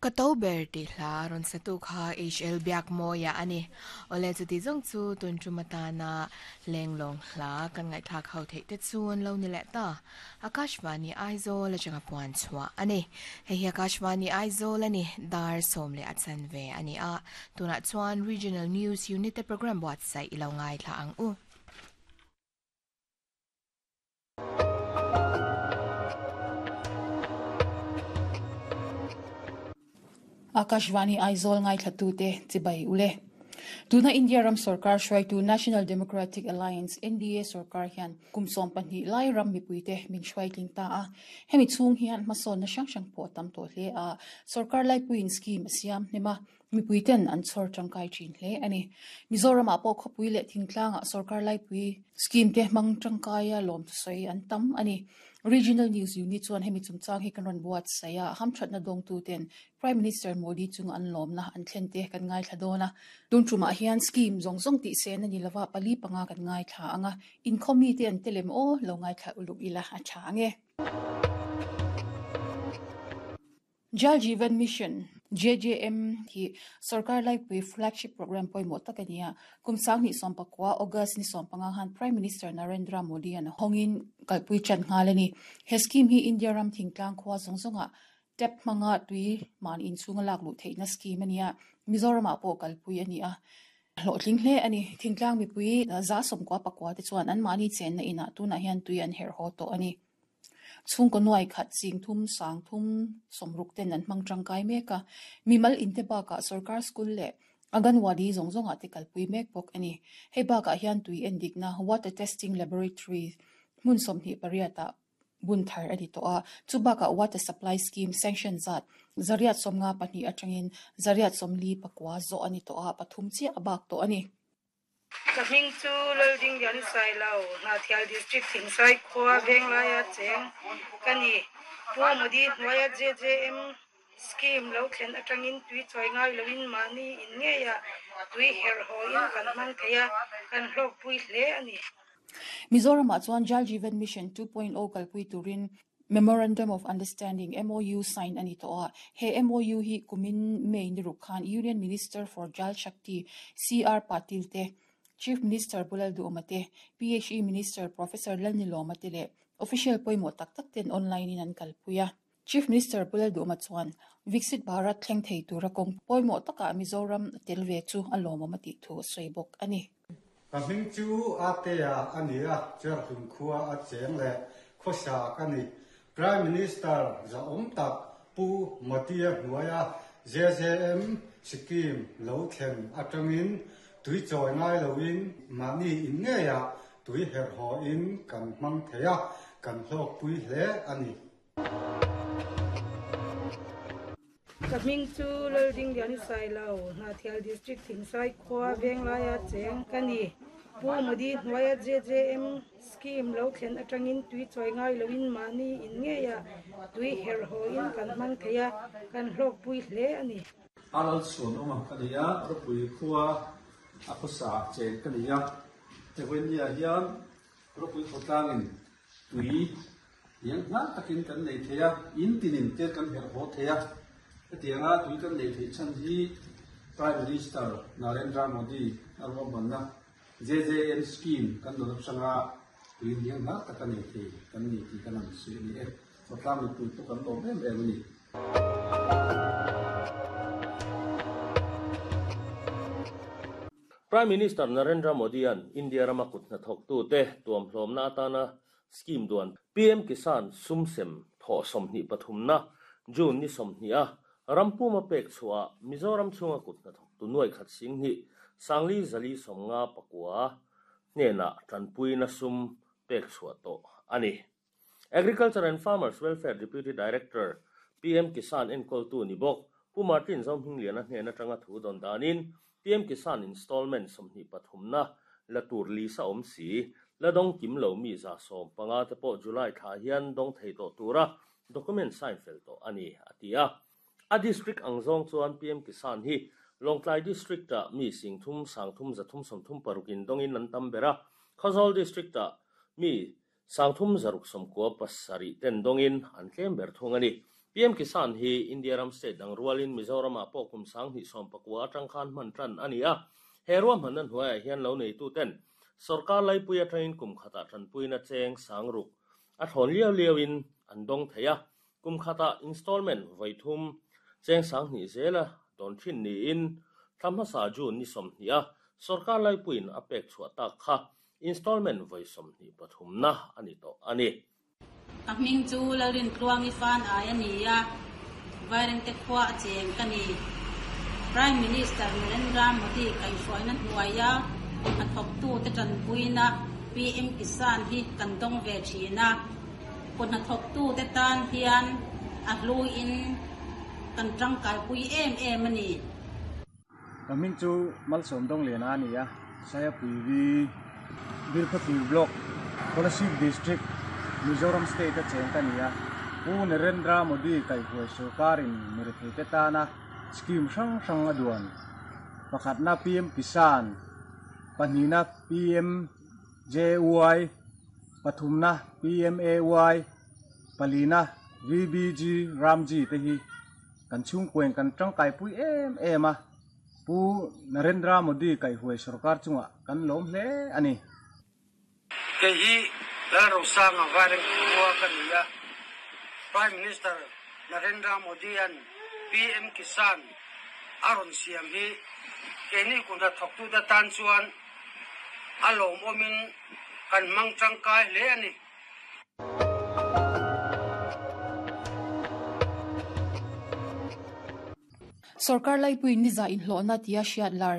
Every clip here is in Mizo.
Ka to ber tih hla rawn satu kha HL Biakmawia a ni. Awle chuti zawng chu tun tum atana lenglawng hla kan ngaihthlak ho theih te chu an lo ni leh ta. Akashvani Aizawl atanga puan chhuah a ni. Hei hi Akashvani Aizawl a ni, dar 10 leh a chanve a ni a. Tunah chuan Regional News Unit te program buatsaih i lo ngaithla ang u. Akashvani Aizawl ngaithlatute chibai ule. Tuna India ram sorkar hruaitu National Democratic Alliance, NDA, sorkar hian kum 12 lai ram mipuite min hruaitling ta a. Hemi chhung hian hmasawnna hrang hrang pawh a tam tawh hle a. Sorkar laipuiin scheme a siam hnem a. Mipuiten an chhawr tangkai thin hle a ni. Mizoramah pawh khawpui leh thingtlangah sorkar laipui scheme te hmang tangkaia lawmthusawi an tam a ni. Regional News Unit chuan hemi chungchang hi kan rawn buatsaih a, hamthatna dawngtuten Prime Minister Modi chunga an lawmna an thlen te kan ngaithla dawn a. Tun tumah hian scheme zawng zawng tih sen a ni lova, pali panga kan ngaithla ang a, inkhawm mite an tel em aw, lo ngaithla uluk ila a tha ang e. Jal Jeevan Mission, JJM, hi sorkar laipui flagship programme pawimawh tak a ni a. Kum 2019 August ni 15 khan Prime Minister Narendra Modi an hawngin kalpui tan nghal a ni. He scheme hi India ram thingtlang khua zawng zawngah tap hmanga tui man inchhunga lak luh theihna scheme a ni a, Mizoramah pawh kalpui a ni a. Hlawhtling hle a ni. Thingtlang mipui 99% te chuan anmahni chenna inah tunah hian tui an herh haw tawh a ni. Chhungkaw nuai khat 30 360 ten an hmang tangkai mek a, mimal inte bakah sorkar school leh Anganwadi zawng zawngah te kalpui mek bawk a ni. Hei bakah hian tui endikna, Water Testing Laboratory, hmun 28 ah bun thar a ni tawh a, chu bakah Water Supply Scheme sanction zat 852 atangin 849 zawh a ni tawh a, pathum chiah a bak tawh a ni. Ka hming chu Laldinglian Sailo, Hnahthial District Thingsai khua Venglaia cheng ka ni. Pu Modi hnuaia JJM scheme lo thlen atangin tui chawi ngai loin mahni in ngeiah tui herh hawin kan hmang thei a, kan hlawkpui hle a ni. Mizoramah chuan Jal Jeevan Mission 2.0 kalpui turin Memorandum of Understanding, MOU, sign a ni tawh a. He MOU hi kumin May ni ruk khan Union Minister for Jal Shakti, CR Patil te, Chief Minister Pu Lalduhawma te, PHE Minister Professor Lalnilawma te leh official pawimawh tak tak ten online in an kalpui a. Chief Minister Pu Lalduhawma chuan Viksit Bharat thleng thei tura kawng pawimawh takah Mizoram a tel ve chu a lawmawm a tih thu a sawi bawk a ni. Ka hming chu Atea a ni a, Cherhlun khua a cheng leh khawsa ka ni. Prime Minister zahawm tak Pu Modi-a hnuaia JJM Scheme lo thlen atangin tui chawi ngai loin mahni in ngeiah tui herh hawin kan hmang thei a, kan hlawkpui hle a ni. Ka hming chu Laldinglian Sailo, Hnahthial District Thingsai khua Venglaia cheng ka ni. Pu Modi hnuaia JJM scheme lo thlen atangin tui chawi ngai loin mahni in ngeiah tui herh hawin kan hmang thei a, kan hlawkpui hle a ni. A lalchhuan awm ang ka ni a, ropui khua a khawsa cheng ka ni a, Evonia hian ropui khawtlangin tui Hian hnar takin kan nei thei a, in tinin te kan herh haw thei a. Hetianga tui kan nei theih chhan hi Prime Minister Narendra Modi a ruahmanna JJM scheme kan dawn atanga tui hian hnar taka nei thei kan ni tih kan han sawi a ni e. Khawtlang mipui pawh kan lawm em em a ni. Prime Minister Narendra Modi-a'n India rama kut hnathawktute tuamhlawmna atana Scheme duan PM Kisan sum sem thawh 23na June ni 20 a ram puma pek chhuah Mizoram chhunga kut hnathawktu nuai khat sing hnih sangli zali 59 hnenah tanpuina sum pek chhuah tawh a ni. Agriculture and Farmers Welfare Deputy Director PM Kisan enkawltu ni bawk Pu Martin Zohmingliana hnen atanga thu dawn danin PM Kisan Installment 23na la tur lisa awm si, la dawng kim lo mi 150 te pawh July thla hian dawng thei tawh tura document sign fel tawh a ni, a ti a. A district ang zawng chuan PM Kisan hi Lawngtlai District-ah mi 3 336 in dawngin an tam ber a, Khawzawl District-ah mi 3 697 ten dawngin an tlem ber thung a ni. PM Kisan hi India ram state dang rualin Mizoramah pawh kum 2019 atang khan hman tan a ni a. He ruahmanna hnuaiah hian lo neituten sorkar laipui atangin kum khatah tanpuina cheng sang ruk a thawn liau liauin an dawng thei a. Kum khatah installment vawi thum cheng 2000 zela dawn thin niin thla hmasa June ni 20 a sorkar laipuiin a pek chhuah tak kha installment vawi 23 na a ni tawh a ni. Ka hming chu Lalrin Tluangi fan ai a ni a, Vairengte khua a cheng ka ni. Prime Minister Narendra Modi kaihhruaina hnuaia hnathawktute tanpuina PM Kisan hi kan dawng ve thin a. Kut hnathawktute tan hian a hluin kan tangkaipui em em a ni. Ka hming chu Malsawm Dawng Liana a ni a, Sayapui V Bilkhawthlir Block, Kolasib District, Mizoram State a cheng ka ni a. Pu Narendra Modi kaihhuai sorkarin miretheite tana scheme hrang hrang a duan. Pakhatna PM Kisan, pahnihna PM JAY, pathumna PMAY, palina VBG Ramji te hi kan chhungkuain kan tangkaipui em em a. Pu Narendra Modi kaihhuai sorkar chungah kan lawm hle a ni. Kei hi Lalrosanga Vaireng khua ka ni a. Prime Minister Narendra Modi an PM Kisan a rawn siam hi keini kum hnathawktute tan chuan a lawmawmin kan hmang tangkai hle a ni. Sorkar laipui niza inhlawhna tia hriat lar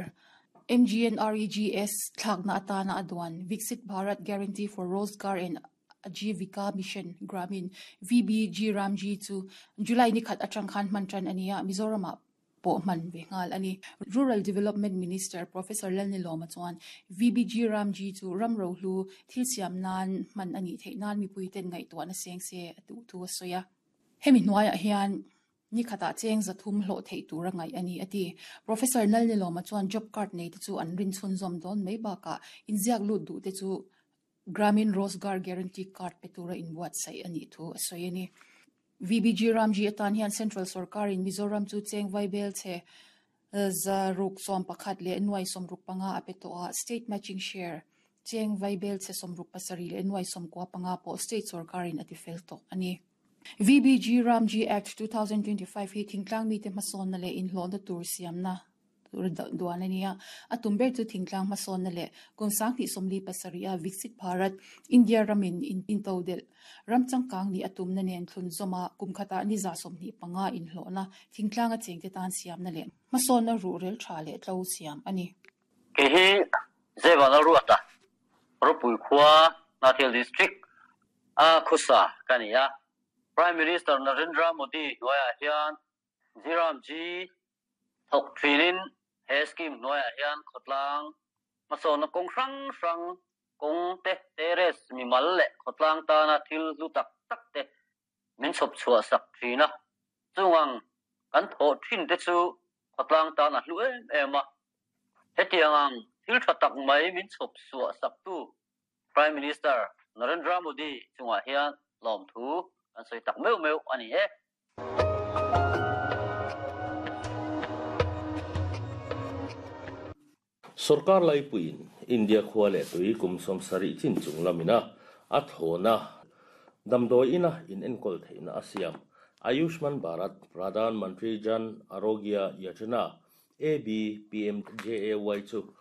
MGNREGS thlakna atana a duan Viksit Bharat Guarantee for Rozgar and Ajeevika Mission Gramin, VBG Ramji chu July ni khat atang khan hman tan a ni a, Mizoramah pawh hman ve nghal a ni. Rural Development Minister Professor Lalnilawma chuan VBG Ramji chu ram rohlu thil siam nan hman a nih theih nan mipuiten ngaihtuahna seng se a duh thu a sawi a. Hemi hnuaiah hian ni khatah cheng zathum hlawh theih tur a ngaih a ni a ti. Professor Lalnilawma chuan job card nei te chu an rin chhunzawm dawn mai bakah inziak lut duh te chu Gramin Rozgar Guarantee Card pe tura inbuatsaih a nih thu a sawi a ni. VBG Ramji atan hian Central sorkarin Mizoram chu cheng vaibel chhe 611.65 a pe tawh a, State Matching Share cheng vaibel chhe 67.95 pawh State sorkarin a tifel tawh a ni. VBG Ramji Act 2025 hi thingtlang mite hmasawnna leh inhlawhna tur siamna duan a ni a. A tum ber chu thingtlang hmasawnna leh kum 2047 a Viksit Bharat, India ramin into delh ram changkang nih a tumna nen thlun zawma kum khatah ni 25 inhlawhna thingtlang a chengte tan siamna leh hmasawnna ruhrel tha leh tlo siam a ni. Kei hi Zevan a ruat a, Ropui khua Hnahthial District a khusa ka ni a. Prime Minister Narendra Modi hnuaiah hian Jiram Ji thawk thinin he scheme hnuaiah hian khawtlang hmasawnna kawng hrang hrang kawng te, terrace mimal leh khawtlang tana thil hlu tak tak te min chhawp chhuah sak thin a. Chungang kan thawh thin te chu khawtlang tan a hlu em em a. Hetiang ang thil tha tak mai min chhawp chhuah sak tu Prime Minister Narendra Modi chungah hian lawmthu kan sawi tak meuh meuh a ni e. Sorkar laipuiin India khua leh tui kum 70 chin chung lamina a thlawna damdawi ina in enkawl theihna a siam. Ayushman Bharat Pradhan Mantri Jan Arogya Yojana ABPMJAY chu.